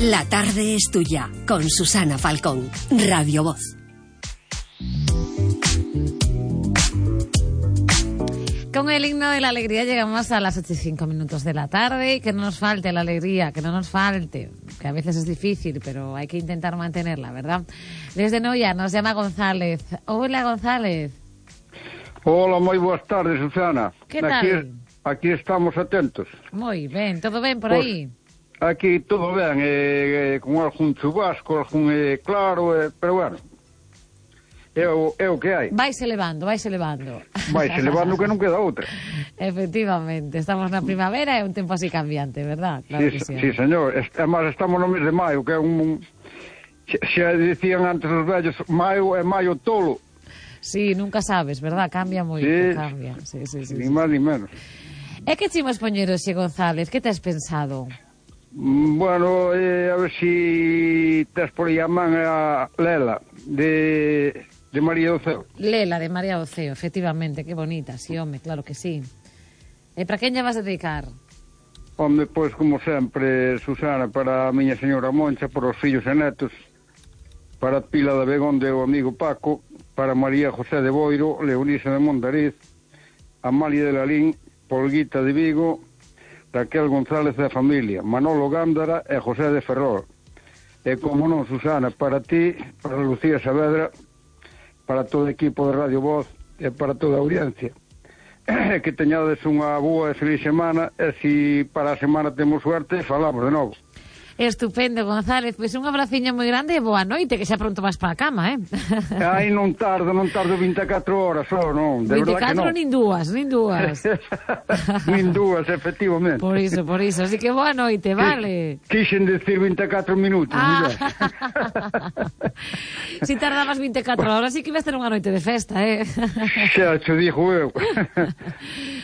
La tarde es tuya, con Susana Falcón, Radio Voz. Con el himno de la alegría llegamos a las 8:05 de la tarde. Que no nos falte la alegría, que no nos falte, que a veces es difícil, pero hay que intentar mantenerla, ¿verdad? Desde Noia nos llama González. Hola, González. Hola, moi boas tardes, Susana. Que tal? Aquí estamos atentos. Moi ben, todo ben por Pues, aí? Aquí todo ben, con algún chubasco, algún claro, pero bueno, é o que hai. Vaise levando. Vaise levando que non queda outra. Efectivamente, estamos na primavera e un tempo así cambiante, verdad? Claro que sí. Sí, señor. Además, estamos no mes de maio, que é un... Xa dicían antes os vellos, maio é maio tolo. Sí, nunca sabes, verdad? Cambia moito, Sí, cambia. Sí. Ni máis ni menos. E que chimos poñer hoxe, González? Que tes pensado? Bueno, a ver si tes por aí a man a Lela, de María do Ceo. Lela, de María do Ceo, efectivamente, que bonita, sí, home, claro que sí. E para quen lle vas a dedicar? Home, pois, como sempre, Susana, para a miña señora Moncha, para os fillos e netos, para Pila de Begonde o amigo Paco, para María José de Boiro, Leonisa de Mondariz, Amalia de Lalín, Polguita de Vigo, Raquel González da familia, Manolo Gándara e José de Ferrol. E como non, Susana, para ti, para Lucía Saavedra, para todo o equipo de Radio Voz e para toda a audiencia. Que teñades unha boa e feliz semana, e se para a semana temos suerte, falamos de novo. Estupendo, González. Pois un abraciño moi grande e boa noite, que xa pronto vas para a cama, Ai, non tardo 24 horas só, non, de verdad que non. 24 nin dúas. Nin dúas, efectivamente. Por iso, así que boa noite, vale? Quixen decir 24 minutos, Si tardabas 24 horas, sí que ibas ter unha noite de festa, Xa, cho dixo eu.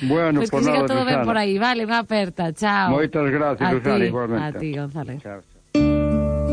Bueno, pois que siga todo ben Susana. por aí, vale, unha aperta, chao. Moitas gracias, Susana, igualmente. A ti, González. Chao.